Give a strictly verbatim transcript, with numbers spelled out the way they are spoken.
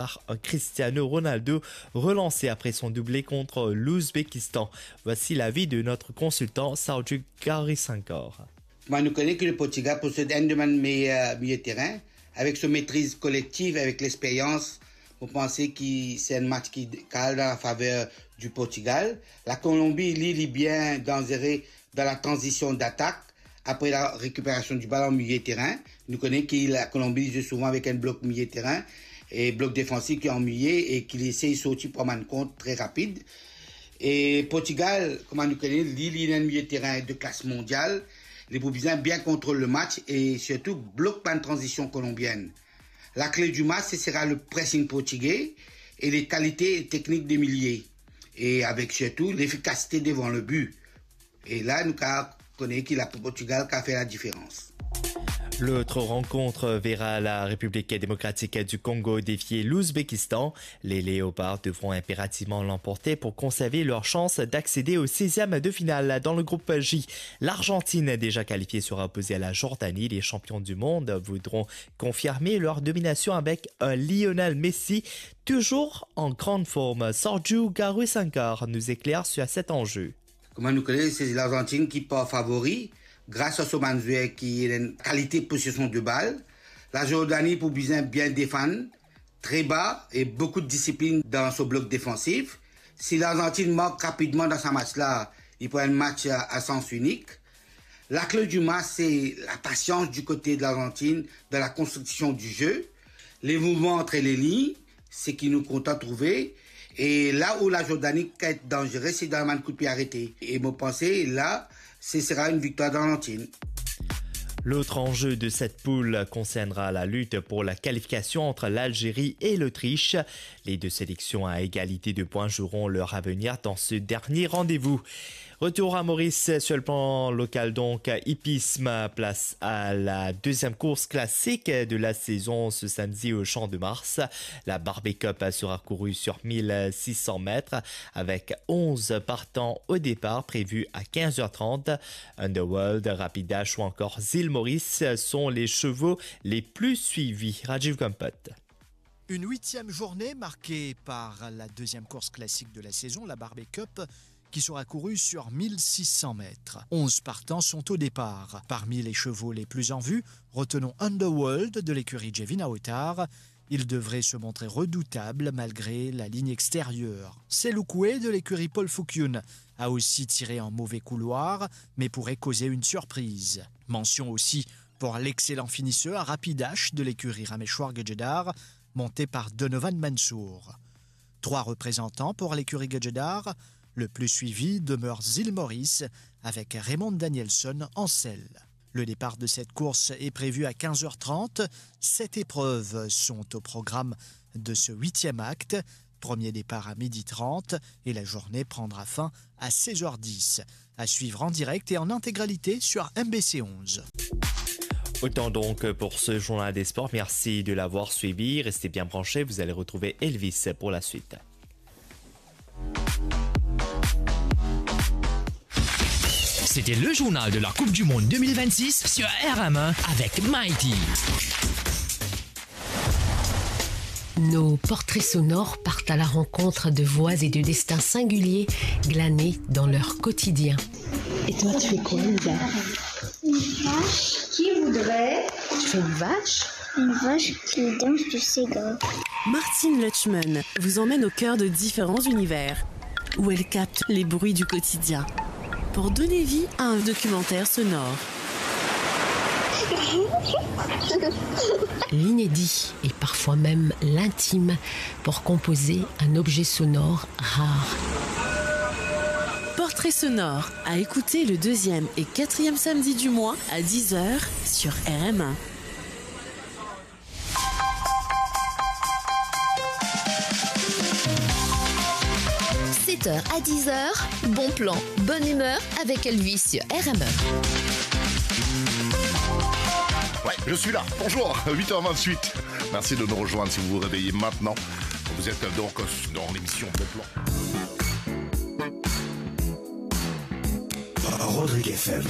par un Cristiano Ronaldo relancé après son doublé contre l'Ouzbékistan. Voici l'avis de notre consultant Sarju Gaurisankar. Kouma nou kone ki le Portigal posed enn de bann meyer miliye terin, avek so metriz kolektiv, avek lexperyans, mo panse ki se enn match ki kal dan la faver di Portigal. La Kolonbi, li, li bien danzere dan la tranzision datak, apre la rekiperasion di bal an miliye terin. Nou kone ki la Kolonbi zwe souvan avek enn blok miliye terin e blok defansif ki an miliye e ki li esey sorti pran bann kont tre rapid. E Portigal, kouma nou kone, li, li ena enn miliye terin de klas mondial. Li pou bizin bien kontrol le match e sirtou blok bann tranzision kolonbienn. Lakle di match, se sera le pressing portigé e le kalite teknik de miliye, e avek sirtou lefikasite devan le bi. E la, nou kav kone ki la Portigal kav fer ladiferans. L'autre rencontre verra la République démocratique du Congo défier l'Ouzbékistan. Les Léopards devront impérativement l'emporter pour conserver leur chance d'accéder au seizième de finale. Dans le groupe J, l'Argentine, déjà qualifiée, sera opposée à la Jordanie. Les champions du monde voudront confirmer leur domination avec un Lionel Messi toujours en grande forme. Sarju Gaurisankar nous éclaire sur cet enjeu. Kouma nou kone, se Larzantin ki par favori, gras a so bann zwer ki ena enn kalite posesion de bal. Lazordani pou bizin bien defann, tre ba e boukou disiplinn dan so blok defansif. Si Larzantin mark rapidman dan sa match la, li pou enn match a, a sans inik. Lakle di match, se lapasians di kote de Larzantin dan la konstriksion di ze, le mouvman antre le lign, seki nou kontan trouve. E la ou Lazordani kav et danzere, se dan bann kout pie arete. E mo panse, la, se sera enn viktwar Larzantin. L'autre enjeu de cette poule concernera la lutte pour la qualification entre l'Algérie et l'Autriche. Les deux sélections à égalité de points joueront leur avenir dans ce dernier rendez-vous. Retour à Maurice sur le plan local donc. Hippisme, place à la deuxième course classique de la saison ce samedi au Champ de Mars. La Barbet Cup sera courue sur mille six cents mètres avec onze partants au départ prévus à quinze heures trente. Underworld, Rapidash ou encore Zil Maurice sont les chevaux les plus suivis. Rajiv Kampot. Une huitième journée marquée par la deuxième course classique de la saison, la Barbet Cup, qui sera courue sur mille six cents mètres. Onze partants sont au départ. Parmi les chevaux les plus en vue, retenons Underworld de l'écurie Jevin Aotar. Il devrait se montrer redoutable malgré la ligne extérieure. Seloukoue de l'écurie Paul Foucune a aussi tiré un mauvais couloir, mais pourrait causer une surprise. Mention aussi pour l'excellent finisseur Rapidash de l'écurie Rameshwar Gajedhar, monté par Donovan Mansour. Trois représentants pour l'écurie Gajedhar, le plus suivi demeure Zil Maurice avec Raymond Danielson en selle. Le départ de cette course est prévu à quinze heures trente. Sept épreuves sont au programme de ce huitième acte. Premier départ à midi trente et la journée prendra fin à seize heures dix. À suivre en direct et en intégralité sur M B C onze. Autant donc pour ce journal des sports. Merci de l'avoir suivi. Restez bien branchés. Vous allez retrouver Elvis pour la suite. C'était le journal de la Coupe du Monde deux mille vingt-six sur R M un avec Mighty. Nos portraits sonores partent à la rencontre de voix et de destins singuliers glanés dans leur quotidien. Et toi, tu fais quoi, Lisa ? Une vache. Qui voudrait ? Tu fais une vache ? Une vache qui danse du Sega. Martine Lutchman vous emmène au cœur de différents univers, où elle capte les bruits du quotidien pour donner vie à un documentaire sonore. L'inédit et parfois même l'intime pour composer un objet sonore rare. Portrait sonore, à écouter le deuxième et quatrième samedi du mois à dix heures sur R M un. Sept heures à dix heures, bon plan, bonne humeur avec Elvis sur R M un. Ouais, je suis là. Bonjour, huit heures vingt-huit. Merci de nous rejoindre si vous vous réveillez maintenant. Vous êtes donc dans l'émission Bon Plan. Rodrigue F M.